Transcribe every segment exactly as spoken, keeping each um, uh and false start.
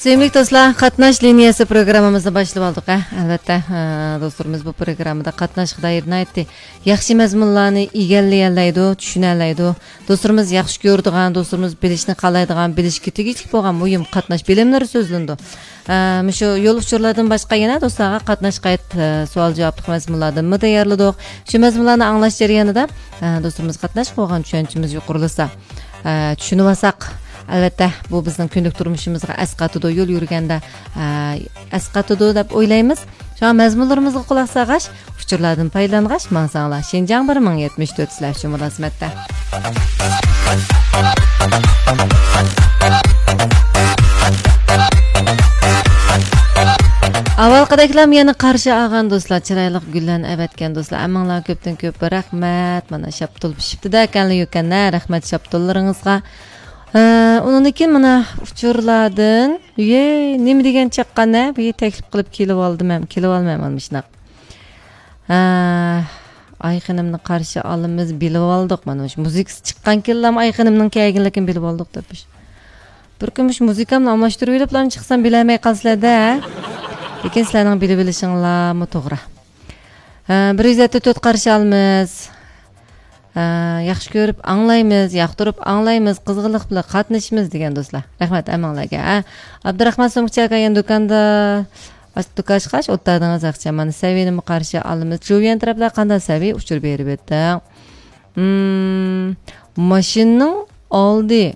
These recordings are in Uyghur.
سۆيۈملۈك دوستلار، قاتناش لىنىيەسى پروگراممىمىزنى باشلىۋالدۇق، ھە. ئەلۋەتتە، ئە، دوستلىرىمىز بۇ پروگراممىدا قاتناشقا دائىر ناھايىتى ياخشى مەزمۇنلارنى ئىگىلىيەلەيدۇ، چۈشىنەلەيدۇ. دوستلىرىمىز ياخشى كۆرىدىغان، دوستلىرىمىز بىلىشنى خالايدىغان، بىلىشكە تېگىشلىك بولغان مۇھىم قاتناش بىلىملىرى سۆزلىنىدۇ. ئە، مۇشۇ يول ئۇچۇرلاردىن باشقا يەنە دوستلارغا قاتناشقا ئائىت، ئە، سوئال-جاۋابلىق مەزمۇنلاردىنمۇ تەييارلىدۇق. شۇ مەزمۇنلارنى ئاڭلاش جەريانىدا، ئە، دوستلىرىمىز قاتناشقا بولغان چۈشەنچىمىز يۇقىرىلىسا، ئە، چۈشىنىۋالساق، ئەلۋەتتە، بۇ بىزنىڭ كۈندىلىك تۇرمۇشىمىزغا ئەسقاتىدۇ، يول يۈرگەندە، ئە، ئەسقاتىدۇ دەپ ئويلايمىز. شۇڭا مەزمۇنلىرىمىزغا قۇلاق سالغاچ، ئۇچۇرلاردىن پايدىلانغاچ ماڭساڭلار، شىنجاڭ بىر مىڭ يەتمىش تۆت سىلەر ئۈچۈن مۇلازىمەتتە. ئاۋۋالقىدەكلا يەنە قارشى ئالغان دوستلار، چىرايلىق گۈللەرنى ئەۋەتكەن دوستلار، ھەممىڭلارغا كۆپتىن كۆپ رەھمەت. مانا شاپتۇل پىشىپتىدە ئەكەنلا يوكەن، ھە، رەھمەت شاپتۇللىرىڭىزغا. ھە، ئۇنىڭدىن كېيىن مانا ئۇچۇرلاردىن، يەي، نېمە دېگەن چاققان، ھە؟ بۇ تەكلىپ قىلىپ كېلىۋالدىم ھەم، كېلىۋالمايمەن مۇشۇنداق. ھە، ئايخېنىمنى قارشى ئالىمىز، بىلىۋالدۇق. مانا مۇشۇ مۇزىكىسى چىققانكىنلا ئايخېنىمنىڭ كەلگەنلىكىنى بىلىۋالدۇق دەپ. بىر كۈن مۇشۇ مۇزىكامنى ئالماشتۇرۇۋېلىپلا چىقسام بىلەلمەي قالىسىلەر-دە. لېكىن سىلەرنىڭ بىلىۋېلىشىڭلارمۇ توغرا. ھە، بىر يۈز يەتتە تۆت قارشى ئالىمىز. ھە، ياخشى كۆرۈپ ئاڭلايمىز، ياقتۇرۇپ ئاڭلايمىز، قىزغىنلىق بىلەن قاتنىشىمىز دېگەن دوستلار. رەھمەت ھەممىڭلارگە. ھە، ئابدۇراخمان سومكىچى ئاكا يەنە دۇكاندا، دۇكان ئاچقاچ ئولتۇردىڭىز ئاقچام. مانا سەۋىينىمۇ قارشى ئالىمىز. جۇۋيەن تەرەپلەر قانداق سەۋىي ئۇچۇر بېرىۋېتىڭ. مم، ماشىنىنىڭ ئالدى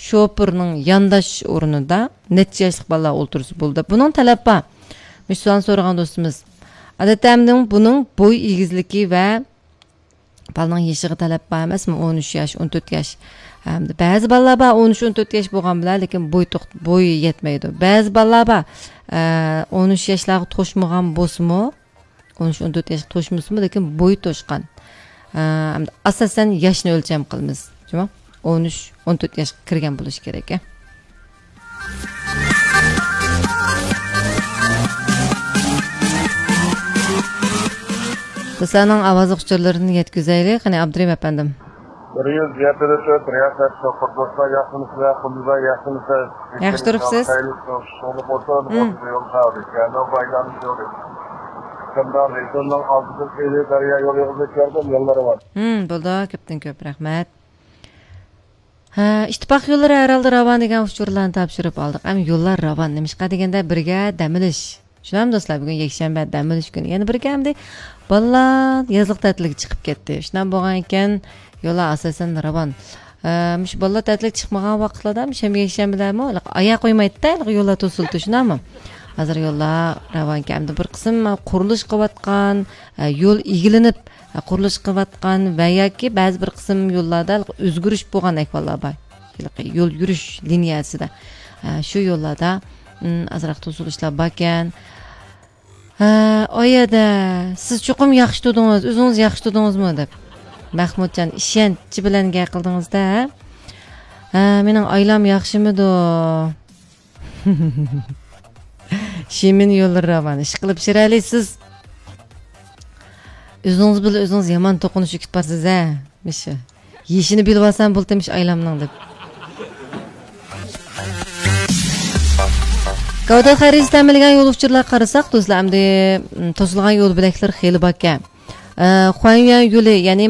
شوپۇرنىڭ يانداش ئورنىدا نەچچە ياشلىق بالىلار ئولتۇرسا بولىدۇ دەپ. بۇنىڭ تەلەپ بار. مۇشۇ سوئالنى سورىغان دوستىمىز. ئادەتتە ئەمدى بۇنىڭ بوي ئېگىزلىكى ۋە بالىنىڭ يېشىغا تەلەپ بار ئەمەسمۇ؟ ئون ئۈچ ياش، ئون تۆت ياش. ھەمدە بەزى بالىلار بار، ئون ئۈچ، ئون تۆت ياش بولغان بىلەن، لېكىن بوي توق-، بويى يەتمەيدۇ. بەزى بالىلار بار، ئە، ئون ئۈچ ياشلارغا توشمىغان بولسىمۇ، ئون ئۈچ، ئون تۆت ياشقا توشمىسىمۇ، لېكىن بويى توشقان. ئە، ئاساسەن ياشنى ئۆلچەم قىلىمىز، جۇمۇ؟ ئون ئۈچ، ئون تۆت ياشقا كىرگەن بولۇشى كېرەك، ئە. دوستلارنىڭ ئاۋازلىق ئۇچۇرلىرىنى يەتكۈزەيلى، قېنى، ئابدۇرېھىم ئەپەندىم. بىر يۈز يەتتە تۆت رىياسەت شوپۇر دوستلار، ياخشىمۇسىلەر؟ قۇمۇلدا ياخشىمۇسىز؟ ياخشى تۇرۇپسىز؟ خەيرلىك شوپۇر بولسۇن. مم. ئوتتۇز يول ساغلىق. يەنە بايلام يولى. قىمدان رېسوننىڭ ئالدىدىن ئېلى دەريا يولى يولىدىن كەلدىم، يوللىرى بار. مم، بولدى، كۆپتىن كۆپ رەھمەت. ھە، ئىتتىپاق يوللىرى ھەر ھالدا راۋان دېگەن ئۇچۇرلارنى تاپشۇرۇپ ئالدۇق. ئەمما يوللار راۋان. نېمىشقا دېگەندە، بىرگە دەم ئېلىش. شۇنداقمۇ دوستلار، بۈگۈن يەكشەنبە، دەم ئېلىش كۈنى. يەنە بىرگە ئەمدى بالىلار يازلىق تەتىلگە چىقىپ كەتتى. شۇنداق بولغان ئىكەن، يوللار ئاساسەن راۋان. ئە، مۇشۇ بالىلار تەتىلگە چىقمىغان ۋاقىتلاردا، شەنبە، يەكشەنبىلەرمۇ ئاياغ قويمايدۇ-دە، يوللار توسۇلۇپتۇ، شۇنداقمۇ؟ ھازىر يوللار راۋانكەن. ئەمدى بىر قىسىم قۇرۇلۇش قىلىۋاتقان، ئە، يول ئىگىلىنىپ، قۇرۇلۇش قىلىۋاتقان ۋە ياكى بەزى بىر قىسىم يوللاردا ئۆزگىرىش بولغان ئەھۋاللار بار. ھېلىقى يول يۈرۈش لىنىيەسىدە، ئە، شۇ يوللاردا، ئىم، ئازراق توسۇلۇشلار باركەن. ھە، ئايەدە، سىز چوقۇم ياخشى تۇردىڭىز، ئۆزىڭىز ياخشى تۇردىڭىزمۇ دەپ. مەخمۇتجان، ئىشەنچ بىلەن گەپ قىلدىڭىز-دە، ھە؟ ھە، مېنىڭ ئايلام ياخشىمىدۇ؟ شىمىن يوللىرى راۋان، ئىشقىلىپ شىرەلى سىز ئۆزىڭىز بىلەن ئۆزىڭىز يامان توقۇنۇشۇپ كېتىپ بارسىز، ھە؟ مىشە. يېشىنى بىلىۋالسام بولدى مىش ئايلامنىڭ دەپ. گەۋدە خەرىجى تەمىنلىگەن يول ئۇچۇرلارغا قارىساق، دوستلار، ئەمدى، م، توسۇلغان يول بۆلەكلىرى خېلى باركەن. ئە، خۇەنيۈەن يولى، يەنى